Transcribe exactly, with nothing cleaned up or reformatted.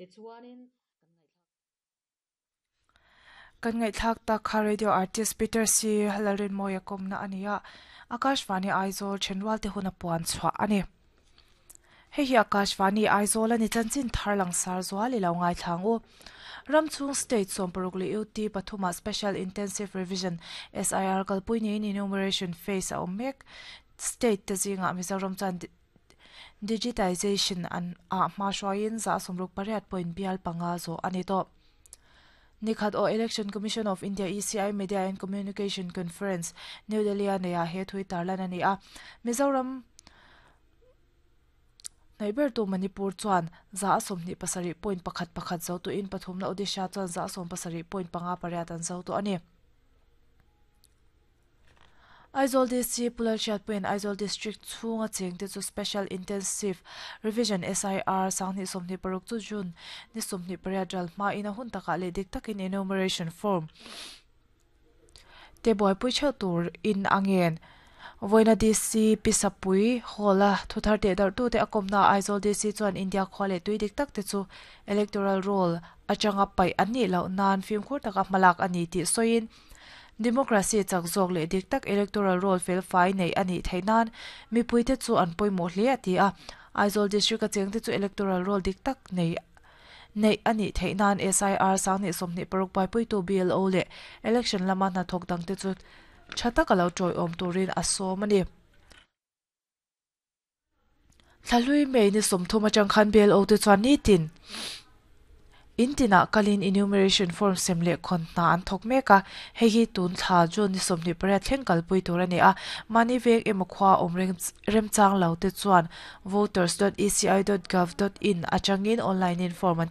Tichuanin Kan ngaihthlak tak kha radio artist Peter C. Lalrinmawia kawmna a ni a, Akashvani Aizawl thenrual te hun a puan chhuah a ni. Hei hi Akashvani Aizawl a ni chanchin thar langsar zual i lo ngaithlang u. Ramchhung State sawmparuk leh U T pathuma Special Intensive Revision S I R kalpui niin enumeration phase a awm mek. State te zingah Mizoram chuan digitization an ah hma hruaiin za sawmruk pariat point bial panga zawh a ni tawh. Nikhat aw Election Commission of India E C I Media and Communication Conference New Delhi a neihah he thui tarlan a ni a. Mizoram hnaihbertu Manipur chuan za a sawmhnih pasarih point pakhat pakhat zo tuin pathumna Odisha chuan za a sawm pasarih point panga pariat an zo tawh a ni. Aizawl D C Pulal Hriatpuiin Aizawl District chhunga chengte chu Special Intensive Revision S I R sanghnih sawmhnih paruk chu June ni sawmhnih pariat ral hmain a hun takah leh dik takin enumeration form te buaipui theuh tur in a ngen. Vawiina D C Pisapui Hall a thuthar teh darh tute a kawmna Aizawl D C chuan India khua leh tui dik tak te chu electoral roll atanga paih an nih loh nan fimkhur taka hmalak a ni tih sawiin democracy chak zawk leh dik tak electoral roll fel fai nei a nih theih nan mipuite chu an pawimawh hle a ti a. Aizawl District a chengte chu electoral roll dik tak nei nei a nih theih nan S I R sanghnih sawmhnih paruk buaipuitu B L O leh election lama hnathawk dangte chu tha taka lo tawiawm turin a sawm a ni. Thlahlui May ni sawmthum atang khan B L O te chuan nitin intinah kalin enumeration form sem leh khawn hna an thawk mek a, hei hi tun thla June ni sawmhnih pariat thleng kalpui tur a ni a. Mahni vek emaw khua awm remchang lo te chuan voters dot e c i dot gov dot in atangin online in form an